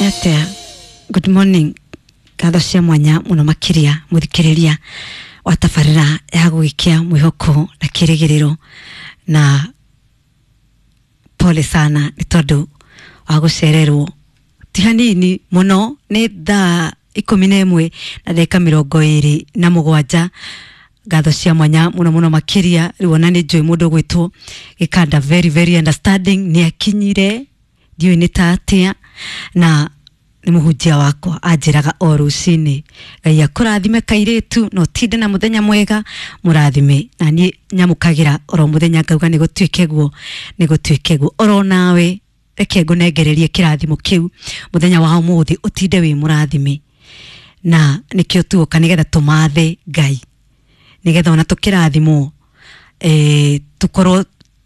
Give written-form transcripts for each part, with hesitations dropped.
Nĩ atĩa? Good morning. Ngatho cia mwanya mũno makĩria mũthikĩrĩria wa tabarĩra ya gũgĩkia mwĩhoko na kĩrĩgĩrĩro, na pole sana nĩ tondũ wa gũcererwo ti hanini mũno. Nĩ thaa 11 na ndagĩka 27. Ngatho cia mwanya mũno mũno makĩria. Rĩu ona nĩ njũĩ mũndũ ũgwĩtwo Gĩkanda, very very understanding, nĩ akinyire, ndiũĩ nĩ ta atĩa, na nĩ mũhunjia wakwa anjĩraga o rũcinĩ, "Ngai akũrathime kairĩtu, na ũtinde na mũthenya mwega mũrathime." Na niĩ nyamũkagĩra oro mũthenya ngauga nĩ gũtuĩke guo, nĩ gũtuĩke guo. Oro nawe reke ngũnengererie kĩrathimo kĩu mũthenya wa ũmũthĩ, ũtinde wĩ mũrathime. Na nĩkĩo tuoka nĩgetha tũmathe Ngai, nĩgetha ona tũkĩrathimwo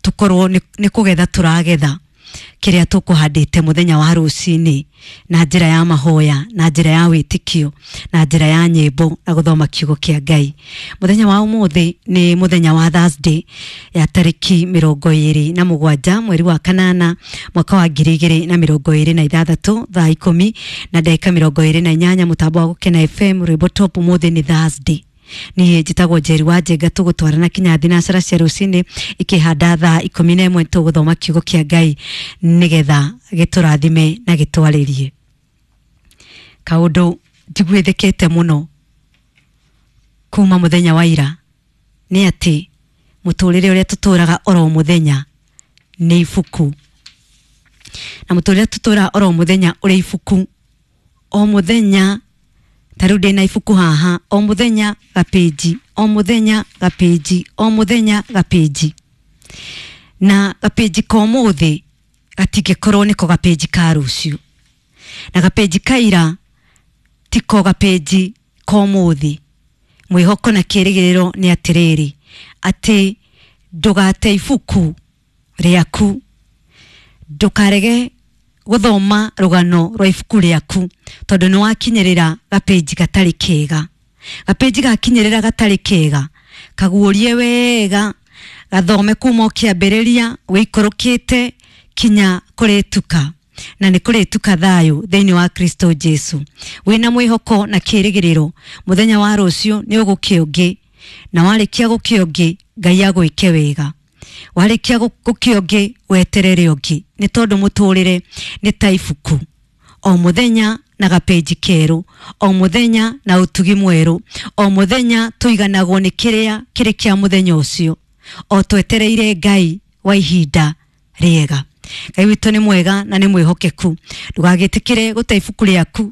tũkorwo nĩ kũgetha tũragetha kĩrĩa tũkũhandĩte mũthenya wa rũcinĩ, na njĩra ya mahoya, na njĩra ya wĩtĩkio, na njĩra ya nyĩmbo na gũthoma kiugo kĩa Ngai. Mũthenya wa ũmũthĩ nĩ mũthenya wa Thursday ya tarĩki 27 mweri wa kanana mwaka wa 2026, thaa 10 na ndagĩka 28, mũtambo wa Gũkena FM, rwĩmbo top. Ũmũthĩ nĩ Thursday. Niĩ njĩtagwo Njeri wa Njenga, tũgũtwarana kinya thinacara cia rũcinĩ ikĩhanda thaa 11. Tũgũthoma kiugo kĩa Ngai nĩgetha gĩtũrathime na gĩtwarĩrie. Kaũndũ njiguĩthĩkĩte mũno kuma mũthenya wa ira nĩ atĩ mũtũrĩre ũrĩa tũtũraga oro mũthenya nĩ ibuku, na mũtũrĩre tũtũraga oro mũthenya ũrĩ ibuku o mũthenya. Ta rĩu ndĩna ibuku haha, o mũthenya gapĩnji, o mũthenya gapĩnji, o mũthenya gapĩnji, na gapĩnji ka ũmũthĩ gatingĩkorwo nĩko gapĩnji ka rũciũ, na gapĩnji ka ira tiko gapĩnji ka ũmũthĩ. Mwĩhoko na kĩrĩgĩrĩro nĩ atĩrĩrĩ, atĩ ndũgate ibuku rĩaku, ndũkarege gũthoma rũgano rwa ibuku rĩaku tondũ nĩ wakinyĩrĩra gapĩnji gatarĩ kega. Gapĩnji gakinyĩrĩra gatarĩ kega, kaguũrie wega, gathome kuma o kĩambĩrĩria wĩikũrũkĩte kinya kũrĩtuka, na nĩ kũrĩtuka thayũ thĩinĩ wa Kristo Jesu, wĩna mwĩhoko na kĩrĩgĩrĩro mũthenya wa rũciũ nĩ ũgũkĩa ũngĩ, na warĩkia gũkĩa ũngĩ, Ngai agwĩke wega. Warĩkia gũkĩa ũngĩ, weterere ũngĩ, nĩ tondũ mũtũrĩre nĩ ta ibuku, o mũthenya na gapĩnji kerũ, o mũthenya na ũtugi mwerũ, o mũthenya tũiganagwo nĩ kĩrĩa kĩrĩ kĩa mũthenya ũcio, o twetereire Ngai wa ihinda rĩega. Ngai witũ nĩ mwega na nĩ mwĩhokeku. Ndũgagĩtĩkĩre gũte ibuku rĩaku,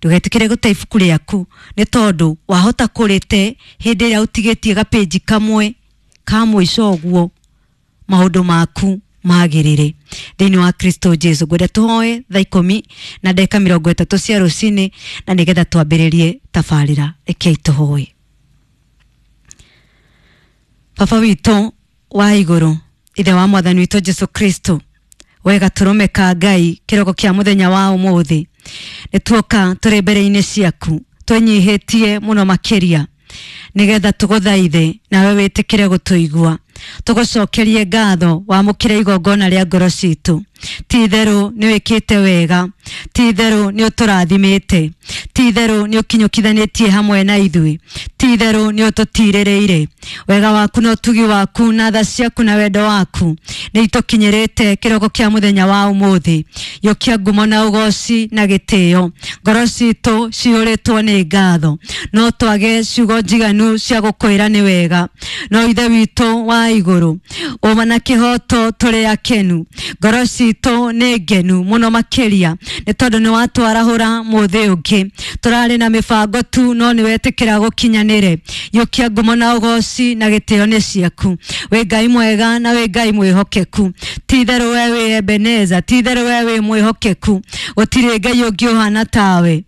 ndũgetĩkĩre gũte ibuku rĩaku, nĩ tondũ wahota kũrĩte hĩndĩ ĩrĩa ũtigĩtie gapĩnji kamwe ka mũico ũguo maũndũ maku magĩrĩre thĩinĩ wa Kristo Jesu. Ngwenda tũhoe thaa 10 na ndagĩka 30 cia rũcinĩ, na nĩgetha twambĩrĩrie tabarĩra. Rekei tũhoe. Baba witũ wa igũrũ, ithe wa mwathani witũ Jesu Kristo, we gatũrũme ka Ngai, kĩroko kĩa mũthenya wa ũmũthĩ nĩ tuoka tũrĩ mbere-inĩ ciaku twĩnyihĩtie mũno makĩria, nĩgetha tũgũthaithe nawe wĩtĩkĩre gũtũigua, tũgũcokerie ngatho, wamũkĩre igongona rĩa ngoro citũ. Ti itherũ nĩ wĩkĩte wega, ti itherũ nĩ ũtũrathimĩte, ti itherũ nĩ ũkinyũkithanĩtie hamwe na ithuĩ, ti itherũ nĩ ũtũtirĩrĩire. Wega waku na ũtugi waku na tha ciaku na wendo waku nĩ itũkinyĩrĩte kĩroko kĩa mũthenya wa ũmũthĩ. Yũkia ngumo na ũgoci na gĩtĩo. Ngoro citũ cihũrĩtwo nĩ ngatho. No twage ciugo njiganu cia gũkwĩra nĩ wega, no Ithe witũ wa igũrũ, ũma na kĩhoto, tũrĩ akenu, ngoro citũ nĩ ngenu mũno makĩria, nĩ tondũ nĩ watwarahũra mũthĩ ũngĩ. Tũrarĩ na mĩbango tu, no nĩ wetĩkĩra gũkinyanĩre. Yũkia ngumo na ũgoci na gĩtĩo nĩ ciaku. Wĩ Ngai mwega na wĩ Ngai mwĩhokeku. Ti itherũ we wĩ Ebeneza, ti itherũ we wĩ mwĩhokeku, gũtirĩ Ngai ũngĩ ũhana tawe.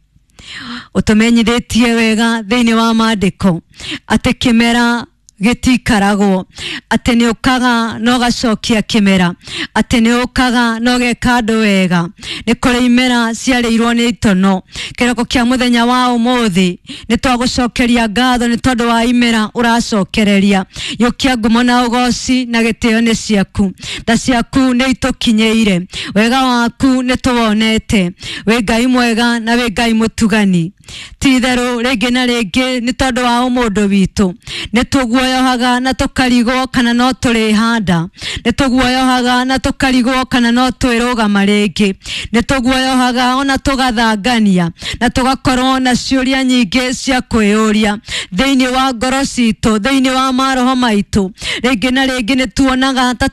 Ũtũmenyithĩtie wega thĩinĩ wa maandĩko atĩ kĩmera Gĩtikaragwo atĩ nĩ ũkaga na ũgacokia kĩmera, atĩ nĩ ũkaga na ũgeka andũ wega. Nĩ kũrĩ imera ciarĩirwo nĩ itono. Kĩroko kĩa mũthenya wa ũmũthĩ nĩ twagũcokeria ngatho nĩ tondũ wa imera ũracokereria. Yũkia ngumo na ũgoci na gĩtĩo nĩ ciaku, tha ciaku nĩ itũkinyĩire, wega waku nĩ tũwonete. Wĩ Ngai mwega na wĩ Ngai mũtugani. Ti itherũ rĩngĩ na rĩngĩ nĩ tondũ wa ũmũndũ witũ nĩ tũguoyohaga na tũkarigwo kana no tũrĩhanda, nĩ tũguoyohaga na tũkarigwo kana no twĩrũgama rĩngĩ, nĩ tũguoyohaga ona tũgathangania na tũgakorwo na ciũria nyingĩ cia kwĩyũria thĩinĩ wa ngoro citũ, thĩinĩ wa maroho maitũ. Rĩngĩ na rĩngĩ nĩ tuonaga ta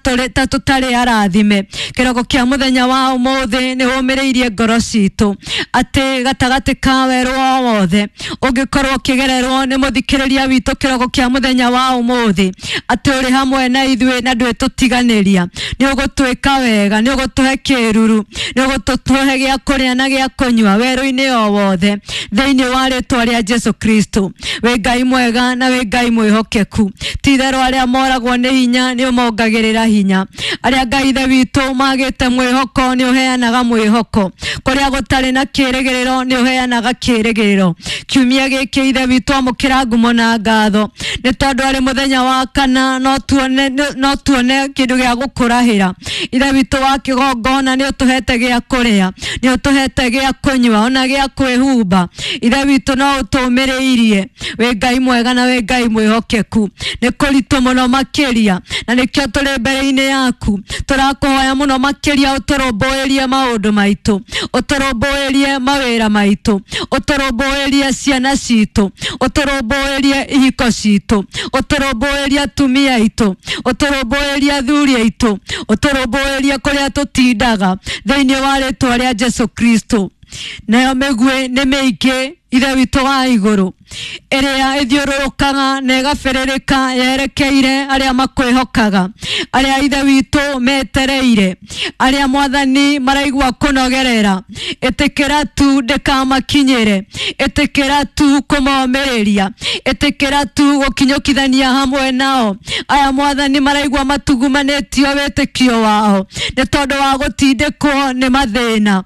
tũtarĩ arathime. Kĩroko kĩa mũthenya wa ũmũthĩ nĩ ũmĩrĩirie ngoro citũ atĩ gatagatĩ ka werũ o wothe ũngĩkorwo ũkĩgererwo nĩ mũthikĩrĩria witũ kĩroko kĩa mũthenya wa ũmũthĩ, atĩ ũrĩ hamwe na ithuĩ na ndwĩtũtiganĩria. Nĩ ũgũtwĩka wega, nĩ ũgũtũhe kĩruru, nĩ ũgũtũhe gĩa kũrĩa na gĩa kũnyua werũ-inĩ o wothe thĩinĩ wa rĩtwa rĩa Jesu Kristo. Wĩ Ngai mwega na wĩ Ngai mwĩhokeku. Ti itherũ arĩa moragwo nĩ hinya nĩ ũmongagĩrĩra hinya, arĩa Ngai ithe witũ magĩte mwĩhoko nĩ ũheanaga mwĩhoko, kũrĩa gũtarĩ na kĩrĩgĩrĩro nĩ ũheanaga kĩrĩgĩrĩro. Kiumia gĩkĩ ithe witũ amũkĩra ngumo na ngatho nĩ tondũ arĩ mũthenya wa kana no tuone kĩndũ gĩa gũkũrahĩra. Ithe witũ wa kĩgongona nĩ ũtũhete gĩa kũrĩa, nĩ ũtũhete gĩa kũnyua ona gĩa kwĩhumba. Ithe witũ no ũtũmĩrĩirie. Wĩ Ngai mwega na wĩ Ngai mwĩhokeku. Nĩ kũritũ mũno makĩria na nĩkĩo tũrĩ mbere-inĩ yaku tũrakũhoya mũno makĩria ũtũrũmbũĩrie maũndũ maitũ, ũtũrũmbũĩrie mawĩra maitũ, ũtũrũmbũĩrie ciana citũ, ũtũrũmbũĩrie ihiko citũ, ũtũrũmbũĩrie atumia aitũ, ũtũrũmbũĩrie athuri aitũ, ũtũrũmbũĩrie kũrĩa tũtindaga thĩinĩ wa rĩtwa rĩa Jesu Kristo. Nayo mĩguĩ nĩ mĩingĩ ithe witũ wa igũrũ ĩrĩa ĩthiũrũrũkaga na ĩgabĩrĩrĩka yerekeire arĩa makwĩhokaga, arĩa ithe witũ metereire, arĩa mwathani maraigua kũnogerera. Ĩtĩkĩra tu ndĩkamakinyĩre, ĩtĩkĩra tu kũmomĩrĩria, ĩtĩkĩra tu gũkinyũkithania hamwe nao. Aya mwathani maraigua matugumanĩtio wĩtĩkio wao nĩ tondũ wa gũtindĩkwo nĩ mathĩna.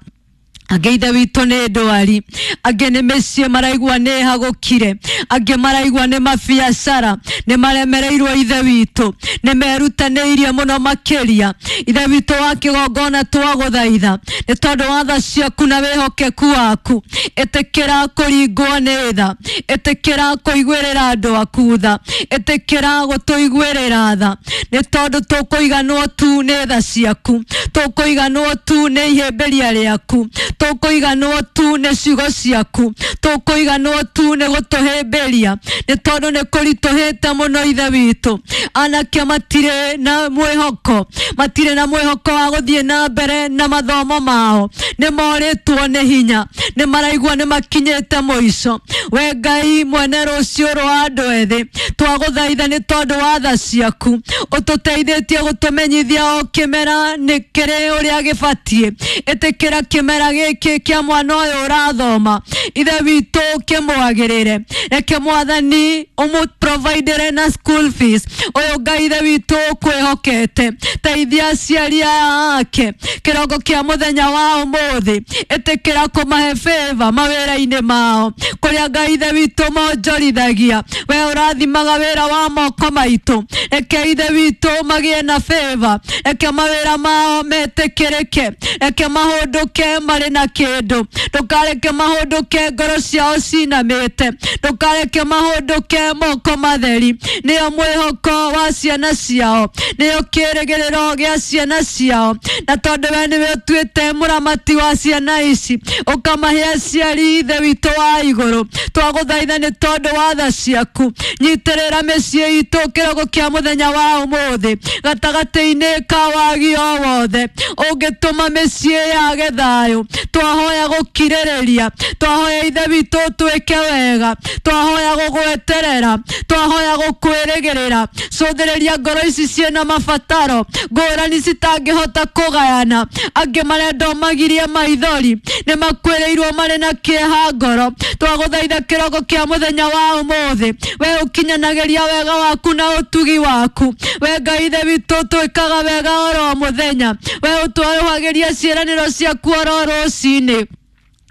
Angĩ ithe witũ nĩ ndwari, angĩ nĩ mĩciĩ maraigua nĩ hagũkire, angĩ maraigua nĩ mabiacara nĩ maremereirwo ithe witũ, nĩ merutanĩirie mũno makĩria. Ithe witũ wa kĩgongona twagũthaitha nĩ tondũ wa tha ciaku na wĩhokeku waku. Ĩtĩkĩra kũringwo nĩ tha, ĩtĩkĩra kũiguĩrĩra andũ aku tha, ĩtĩkĩra gũtũiguĩrĩra tha, nĩ tondũ tũkũiganwo tu nĩ tha ciaku, tũkũiganwo tu nĩ ihĩmbĩria rĩaku, tũkũiganwo tu nĩ ciugo ciaku, tũkũiganwo tu nĩ gũtũhĩmbĩria, nĩ tondũ nĩ kũritũhĩte mũno ithe witũ. Anake matirĩ na mwĩhoko, matirĩ na mwĩhoko wa gũthiĩ na mbere na mathomo mao, nĩ morĩtwo nĩ hinya, nĩ maraigua nĩ makinyĩte mũico. We Ngai mwene rũciũ rwa andũ ethĩ, twagũthaitha nĩ tondũ wa tha ciaku, ũtũteithĩtie gũtũmenyithia o kĩmera nĩ kĩrĩ ũrĩa gĩbatiĩ. Ĩtĩkĩra kĩmera gĩkĩ kĩa mwana ũyũ ũrathoma ithe witũ kĩmwagĩrĩre, reke mwathani ũmũprovidere na school fees. Ũyũ Ngai ithe witũ ũkwĩhokete, teithia aciari aya ake kĩroko kĩa mũthenya wa ũmũthĩ. Ĩtĩkĩra kũmahe favor mawĩra-inĩ mao, kũrĩa Ngai ithe witũ monjorithagia, we ũrathimaga wĩra wa moko maitũ. Reke ithe witũ magĩe na favor, reke mawĩra mao metĩkĩrĩke, reke mahũndũke marĩ na kĩndũ, ndũkareke mahũndũke ngoro ciao cinamĩte, ndũkareke mahũndũke moko matheri. Nĩyo mwĩhoko wa ciana ciao, nĩyo kĩrĩgĩrĩro gĩa ciana ciao, na tondũ we nĩwe ũtuĩte mũramati wa ciana ici, ũkamahe aciari ithe witũ wa igũrũ, twagũthaitha nĩ tondũ wa tha ciaku. Nyitĩrĩra mĩciĩ itũ kĩroko kĩa mũthenya wa ũmũthĩ, gatagatĩ-inĩ ka wagi o wothe ũngĩtũma mĩciĩ yage thayũ, Twahoya gũkirĩrĩria, twahoya Ithe witũ ũtwĩke wega, twahoya gũgweterera, twahoya gũkwĩrĩgĩrĩra. Cũthĩrĩria ngoro ici ciĩna mabataro ngũrani citangĩhota kũgayana. Angĩ marenda ũmagirie maithori, nĩ makwĩrĩirwo marĩ na kĩeha ngoro. Twagũthaitha kĩroko kĩa mũthenya wa ũmũthĩ, we ũkinyanagĩria wega waku na ũtugi waku. We Ngai Ithe witũ ũtwĩkaga wega oro mũthenya, we ũtwarũhagĩria ciĩranĩro ciaku oro rũcinĩ.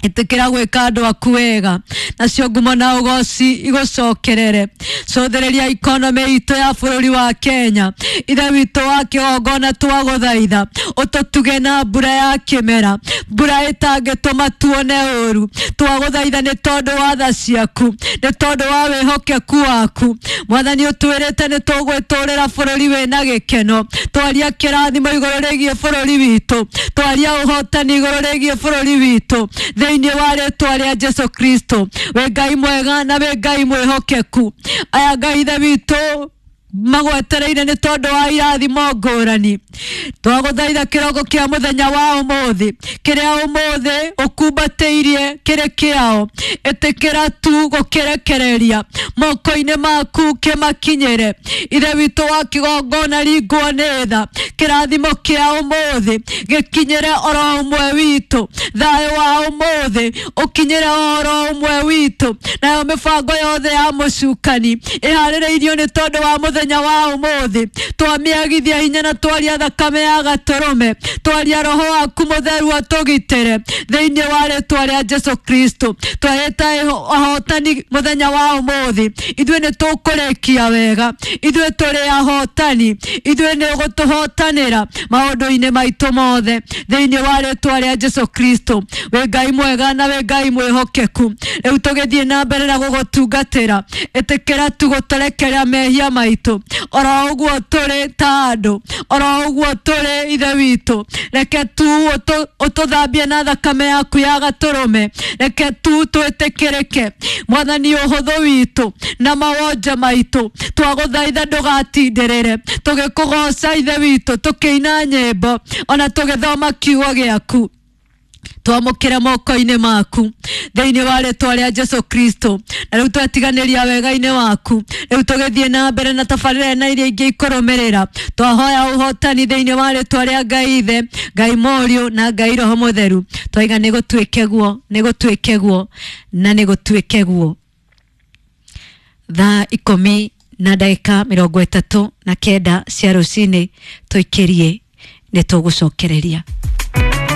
Ĩtĩkĩra gwĩka andũ aku wega, nacio ngumo na ũgoci igũcokerere. Cũthĩrĩria ikonomĩ itũ ya bũrũri wa Kenya. Ithe witũ wa kĩgongona, twagũthaitha ũtũtuge na mbura ya kĩmera, mbura ĩtangĩtũma tuone ũru. Twagũthaitha nĩ tondũ wa tha ciaku, nĩ tondũ wa wĩhokeku waku. Mwathani, ũtwĩrĩte nĩ tũgwĩtũrĩra bũrũri wĩna gĩkeno. Twaria kĩrathimo igũrũ rĩgiĩ bũrũri witũ, twaria ũhotani igũrũ rĩgiĩ bũrũri witũ thĩinĩ wa rĩtwa rĩa Jesu Kristo. Wĩ Ngai mwega na wĩ Ngai mwĩhokeku. Aya Ngai Ithe witũ magwetereire nĩ tondũ wa irathimo ngũrani. Twagũthaitha kĩroko kĩa mũthenya wa ũmũthĩ, kĩrĩa ũmũthĩ ũkumbatĩirie kĩrĩ kĩao, ĩtĩkĩra tu gũkĩrekereria moko-inĩ maku kĩmakinyĩre. Ithe witũ wa kĩgongona, ringwo nĩ tha, kĩrathimo kĩa ũmũthĩ gĩkinyĩre oro ũmwe witũ, thayũ wa ũmũthĩ ũkinyĩre oro ũmwe witũ, nayo mĩbango yothe ya mũcukani ĩharĩrĩirio nĩ tondũ wa mũthenya wa ũmũthĩ twamĩagithia hinya na twaria thakame ya gatũrũme, twaria roho waku mũtheru atũgitĩre thĩinĩ wa rĩtwa rĩa Jesu Kristo. Twahĩta ahotani mũthenya wa ũmũthĩ, ithuĩ nĩ tũkũrĩkia wega, ithuĩ tũrĩ ahotani, ithuĩ nĩ ũgũtũhotanĩra maũndũ-inĩ maitũ mothe thĩinĩ wa rĩtwa rĩa Jesu Kristo. Wĩ Ngai mwega na wĩ Ngai mwĩhokeku. Rĩu tũgĩthiĩ na mbere na gũgũtungatĩra, ĩtĩkĩra tu gũtũrekerea mehia maitũ oro ũguo tũrĩ ta andũ, oro ũguo tũrĩ Ithe witũ. Reke tu ũtũthambie na thakame yaku ya gatũrũme, reke tu twĩtĩkĩrĩke Mwathani ũhũthũ witũ na mawonje maitũ. Twagũthaitha ndũgatindĩrĩre tũgĩkũgoca Ithe witũ, tũkĩina nyĩmbo ona tũgĩthoma kiugo gĩaku. Twamũkĩre moko-inĩ maku thĩinĩ wa rĩtwa rĩa Jesu Kristo. Na rĩu twatiganĩria wega-inĩ waku, rĩu tũgĩthiĩ na mbere na tabarĩra na iria ingĩ ikũrũmĩrĩra. Twahoya ũhotani thĩinĩ wa rĩtwa rĩa Ngai Ithe, Ngai Mũriũ na Ngai Roho Mũtheru. Twaiga nĩ gũtuĩke guo, nĩ gũtuĩke guo na nĩ gũtuĩke guo. Thaa 10:39 cia rũcinĩ, tũikĩrie nĩ tũgũcokereria.